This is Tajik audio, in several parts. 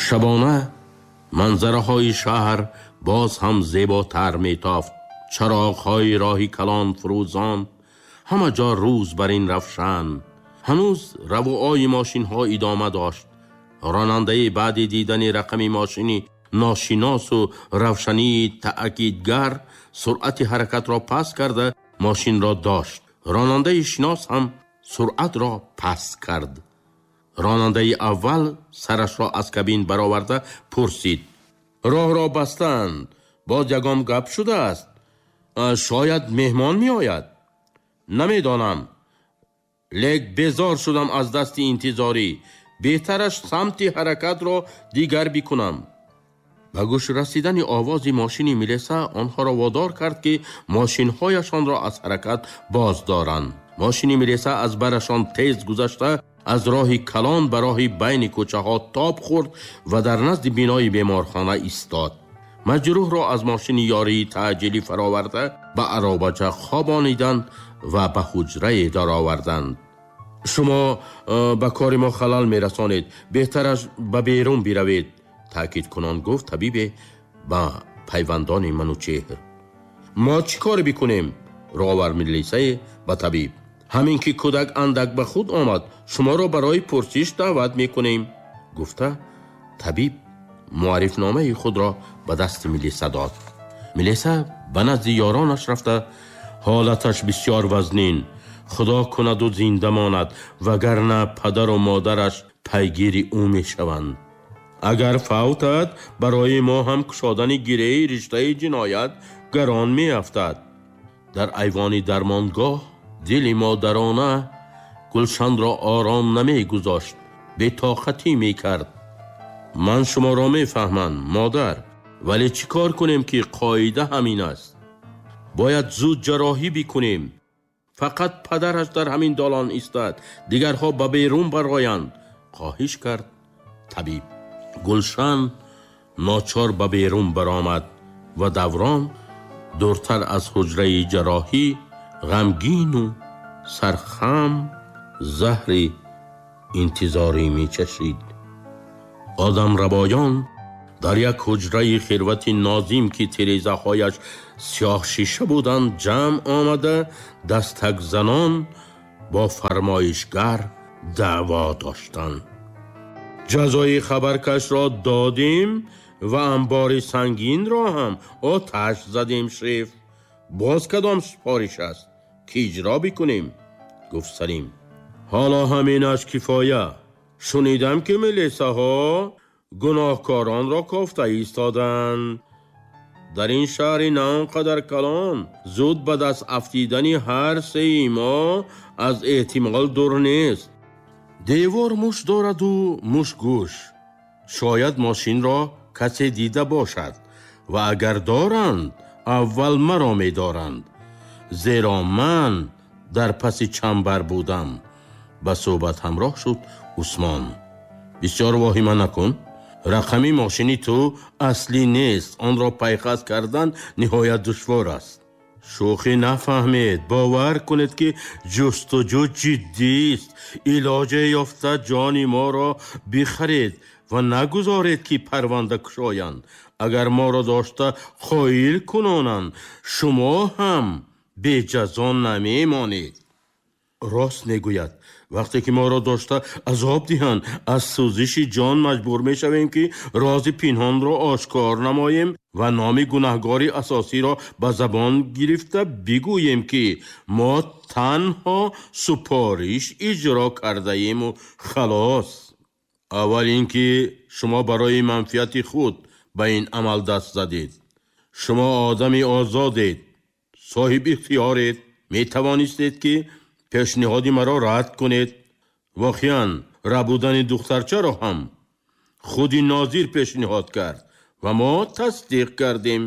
Шабона манзараҳои шаҳр боз ҳам зеботар метофт. Чароғҳои роҳи калон фурӯзон, ҳама ҷо рӯз бар ин равшан. Ҳанӯз равуои мошинҳо идома дошт. Ронандаи баъди дидани рақами мошини ношиносу равшании таъкидгар суръати ҳаракатро паст карда мошинро дошт. Ронандаи шинос ҳам суръатро паст кард. Ронандаи аввал сарашро аз кабин бароварда пурсид: роҳро бастанд, боз ягон гап шудааст? Шояд меҳмон меояд? Намедонам, лек безор шудам аз дасти интизорӣ. Беҳтараш самти ҳаракатро дигар бикунам. Ба гӯш расидани овози мошини милиса онҳоро водор кард, ки мошинҳояшонро аз ҳаракат боз доранд. Мошини милиса аз барашон тез гузашта аз роҳи калон ба роҳи байни кӯчаҳо тоб хӯрд ва дар назди бинои беморхона истод. Маҷрӯҳро аз мошини ёрии таъҷилӣ фароварда ба аробача хобониданд ва ба ҳуҷрае дароварданд. Шумо ба кори мо халал мерасонед, беҳтараш ба берун биравед, таъкидкунон гуфт табибе ба пайвандони Манучеҳр. Мо чӣ кор бикунем? Рӯ овард милисае ба табиб. Ҳамин ки кӯдак андак ба худ омад, шуморо барои пурсиш даъват мекунем, гуфта табиб муаррифномаи худро ба дасти милиса дод. Милиса ба назди ёронаш рафта: ҳолаташ бисёр вазнин, худо кунаду зинда монад, вагарна падару модараш пайгири ӯ мешаванд. Агар фавтад, барои мо ҳам кушодани гиреҳи риштаи ҷиноят гарон меафтад. Дар айвони дармонгоҳ дили модарона Гулшанро ором намегузошт, бетоқатӣ мекард. Ман шуморо мефаҳмам, модар, вале чӣ кор кунем, ки қоида ҳамин аст? Бояд зуд ҷарроҳӣ бикунем. Фақат падараш дар ҳамин долон истад, дигарҳо ба берун бароянд, хоҳиш кард табиб. Гулшан ночор ба берун баромад ва даврон дуртар аз ҳуҷраи ҷарроҳӣ ғамгину сархам заҳри интизорӣ мечашид. Одамрабоён дар як ҳуҷраи хирвати нозим, ки тирезаҳояш сиёҳшиша буданд, ҷамъ омада дастакзанон бо фармоишгар даъво доштанд. Ҷазои хабаркашро додем ва анбори сангинро ҳам оташ задем, шеф. Боз кадом супориш аст, ки иҷро бикунем? Гуфт Салим. Ҳоло ҳаминаш кифоя. Шунидам, ки милисаҳо гуноҳкоронро кофта истоданд. Дар ин шаҳри на он қадар калон зуд ба даст афтидани ҳар сеи мо аз эҳтимол дур нест. Девор муш дораду муш гӯш. Шояд мошинро касе дида бошад ва агар доранд, аввал маро медоранд, зеро ман дар паси чамбар будам. Ба суҳбат ҳамроҳ шуд Усмон. Бисёр воҳима накун. Рақами мошини ту аслӣ нест, онро пайхас кардан ниҳоят душвор аст. Шӯхӣ нафаҳмед, бовар кунед, ки ҷустуҷӯ ҷиддист. Илоҷе ёфта ҷони моро бихаред ва нагузоред, ки парванда кушоянд. Агар моро дошта қоил кунонанд, шумо ҳам беҷазо намемонед. Рост мегӯяд. Вақте ки моро дошта азоб диҳанд, аз сӯзиши ҷон маҷбур мешавем, ки рози пинҳонро ошкор намоем ва номи гунаҳгори асосиро ба забон гирифта бигӯем, ки мо танҳо супориш иҷро кардаему халос. Аввал ин ки шумо барои манфиати худ ба ин амал даст задед. Шумо одами озодед, соҳиби ихтиёред, метавонистед, ки пешниҳоди маро рад кунед. Воқеан, рабудани духтарчаро ҳам худи нозир пешниҳод кард ва мо тасдиқ кардем.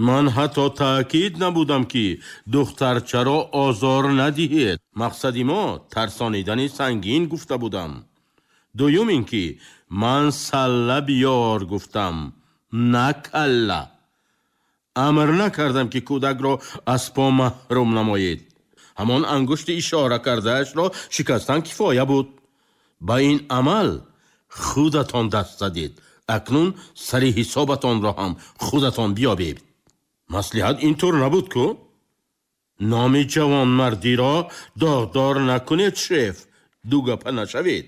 Ман ҳатто таъкид набудам, ки духтарчаро озор надиҳед. Мақсади мо тарсонидани Сангин гуфта будам. Дуюм ин ки ман салла биёр гуфтам, на калла. Амр накардам, ки кӯдакро аз по маҳрум намоед. Ҳамон ангушти ишора кардаашро шикастан кифоя буд. Ба ин амал худатон даст задед. Акнун сари ҳисобатонро ҳам худатон биёбед. Маслиҳат ин тур набуд ку? Номи ҷавонмардиро доғдор накунед, шеф, дугапа нашавед.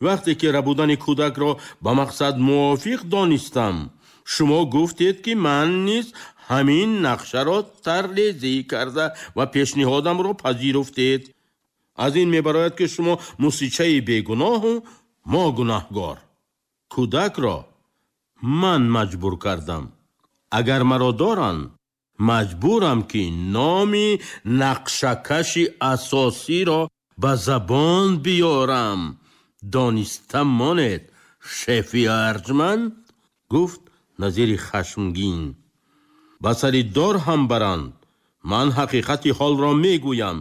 Вақте ки рабудани кӯдакро ба мақсад мувофиқ донистам, шумо гуфтед, ки ман низ ҳамин нақшаро таррезӣ карда ва пешниҳодамро пазируфтед. Аз ин мебарояд, ки шумо мусичаи бегуноҳу мо гунаҳгор. Кӯдакро ман маҷбур кардам. Агар маро доранд, маҷбурам, ки номи нақшакаши асосиро ба забон биёрам. Дониста монед, шефи арҷманд, гуфт Назири хашмгин. Ба сари дор ҳам баранд, ман ҳақиқати ҳолро мегӯям.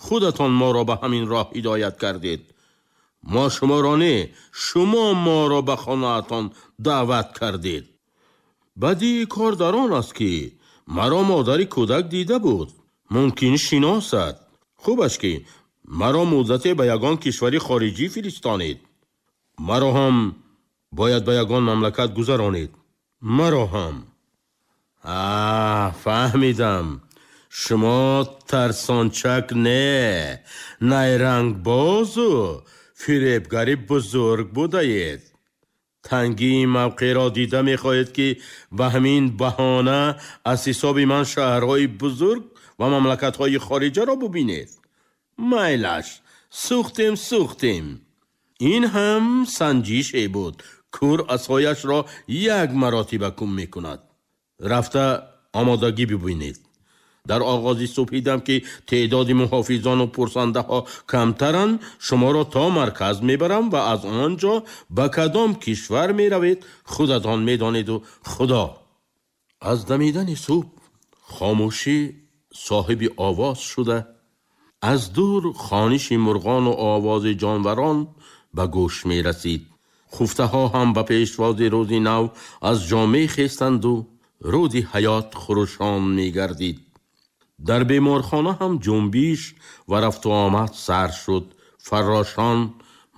Худатон моро ба ҳамин роҳ ҳидоят кардед. Мо шуморо не, шумо моро ба хонаатон даъват кардед. Бадии кор дар он аст, ки маро модари кӯдак дида буд. Мумкин шиносад. Хубаш ки маро муддате ба ягон кишвари хориҷӣ фиристонед. Маро ҳам бояд ба ягон мамлакат гузаронед. Маро ҳам. Фаҳмидам. Шумо тарсончак не, найрангбозу фиребгари бузург будаед. Тангии мавқеъро дида мехоҳед, ки ба ҳамин баҳона аз ҳисоби ман шаҳрҳои бузург ва мамлакатҳои хориҷаро бубинед. Майлаш, сӯхтем, сӯхтем. Ин ҳам санҷише буд. Кур асояшро як маротиба кум мекунад. Рафта омодагӣ бибинед. Дар оғози субҳ дидам, ки теъдоди муҳофизону пурсандаҳо камтаранд, шуморо то марказ мебарам ва аз он ҷо ба кадом кишвар меравед, худатон медонеду Худо. Аз дамидани субҳ хомӯшӣ соҳиби овоз шуда, аз дур хониши мурғону овози ҷонварон ба гӯш мерасид. Хуфтаҳо ҳам ба пешвози рӯзи нав аз ҷо мехестанду рӯди ҳаёт хурӯшон мегардид. Дар беморхона ҳам ҷунбиш ва рафту омад сар шуд. Фаррошон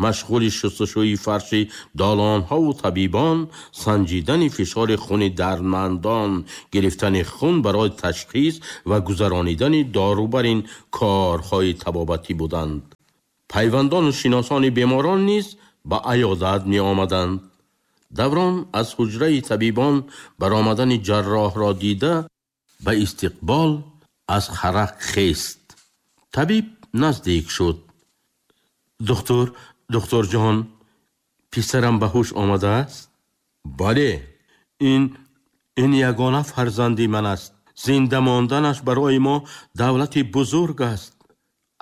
машғули шустушӯи фарши долонҳову табибон санҷидани фишори хуни дардмандон, гирифтани хун барои ташхис ва гузаронидани дору бар ин корҳои табобатӣ буданд. Пайвандону шиносони беморон низ ба аёдат меомаданд. Даврон аз ҳуҷраи табибон баромадани ҷарроҳро дида, ба истиқбол аз харақ хест. Табиб наздик шуд. Духтур, духтурҷон, писарам ба ҳуш омадааст? Бале, ин ягона фарзанди ман аст. Зинда монданаш барои мо давлати бузург аст.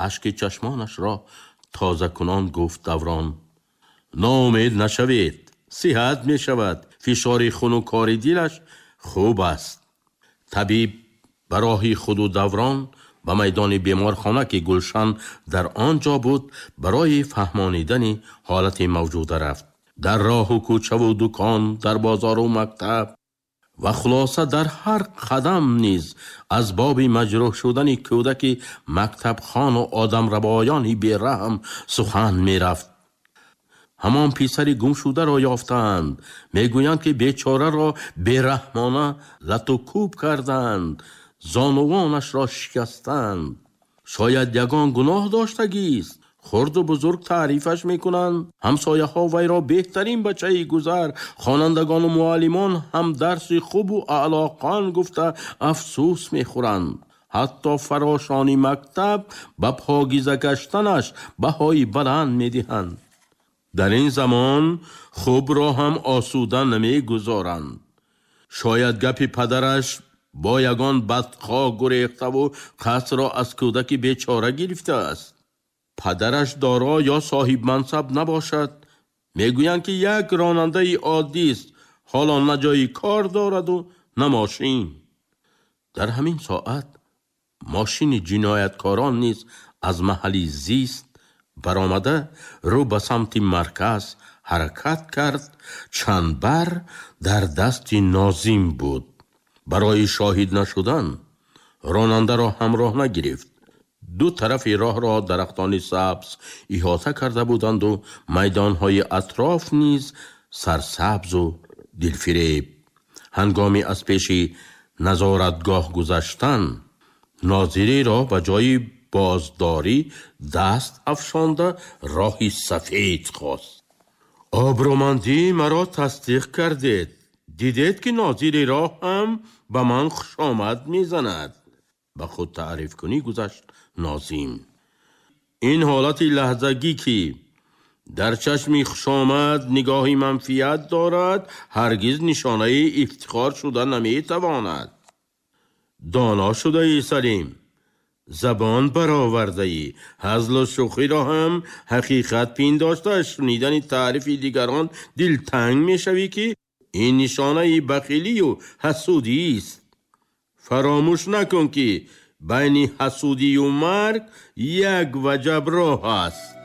Ашки чашмонашро тозакунон гуфт Даврон. Ноумед нашавед, сиҳат мешавад. Фишори хуну кори дилаш хуб аст. Табиб ба роҳи худу Даврон ба майдони беморхона, ки Гулшан дар он ҷо буд, барои фаҳмонидани ҳолати мавҷуда рафт. Дар роҳу кӯчаву дукон, дар бозору мактаб ва хулоса дар ҳар қадам низ аз боби маҷрӯҳ шудани кӯдаки мактабхону одамрабоёни бераҳм сухан мерафт. Ҳамон писари гумшударо ёфтаанд. Мегӯянд, ки бечораро бераҳмона лату кӯб карданд, зонувонашро шикастанд. Шояд ягон гуноҳ доштагист. Хурду бузург таърифаш мекунанд. Ҳамсояҳо вайро беҳтарин бачаи гузар, хонандагону муаллимон ҳам дарси хубу аълоқан гуфта афсӯс мехӯранд. Ҳатто фарошони мактаб ба покиза гаштанаш баҳои баланд медиҳанд. Дар ин замон хубро ҳам осуда намегузоранд. Шояд гапи падараш бо ягон бадхоҳ гурехтаву қасрро аз кӯдаки бечора гирифтааст. Падараш доро ё соҳибмансаб набошад. Мегӯянд, ки як ронандаи оддист, ҳоло на ҷои кор дораду на мошин. Дар ҳамин соат мошини ҷинояткорон низ аз маҳалли зист баромада рӯ ба самти марказ ҳаракат кард. Чандбар дар дасти Нозим буд. Барои шоҳид нашудан ронандаро ҳамроҳ нагирифт. Ду тарафи роҳро дарахтони сабз иҳота карда буданду майдонҳои атроф низ Сарсабзу дилфиреб. Ҳангоми аз пеши назоратгоҳ гузаштан, нозири роҳ ба ҷои боздорӣ даст афшонда роҳи сафед хост. Обрӯмандии маро тасдиқ кардед. Дидед, ки нозири роҳ ҳам ба ман хушомад мезанад. Ба худ таърифкунӣ гузашт Нозим. Ин ҳолати лаҳзагӣ, ки дар чашми хушомад нигоҳи манфият дорад, ҳаргиз нишонаи ифтихор шуда наметавонад. Доно шудаӣ, Салим, забон баровардаӣ. Ҳазлу шӯхиро ҳам ҳақиқат пиндошта, аз шунидани таърифи дигарон дилтанг мешавӣ, ки ин нишонаи бахилию ҳасудист. Фаромӯш накун, ки байни ҳасудию марг як ваҷаб роҳ аст.